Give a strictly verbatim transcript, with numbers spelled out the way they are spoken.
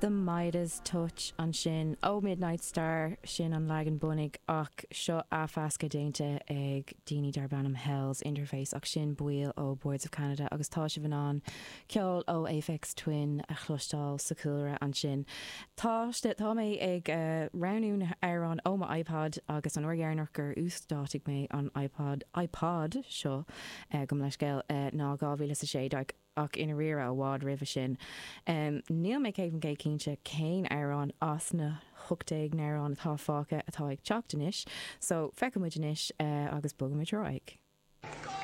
The Midas Touch ansin ó Midnight Star sin an leagan bunaidh ach seo athmheascadh déanta ag daoine darb ainm Hell's Interface ach sin baill ó Boards of Canada agus tá sibh in ann ceol ó Aphex Twin a chloisteáil sa chúlra ansin. Tá tá mé ag uh, roghnú na hamhráin ó mo iPod agus an uair dheireanach gur úsáideadh mé an iPod iPod seo uh, gabh mo leithscéal uh, ná dhá mhíle a sé ach ina ríre i bhfad roimhe sin. Um, Níl mé céad faoin gcéad cinnte cén amhrán as na hocht déag n-amhrán atá fágtha atá ag teacht anois, so feicfimid anois uh, agus bogfaimid ar aghaidh.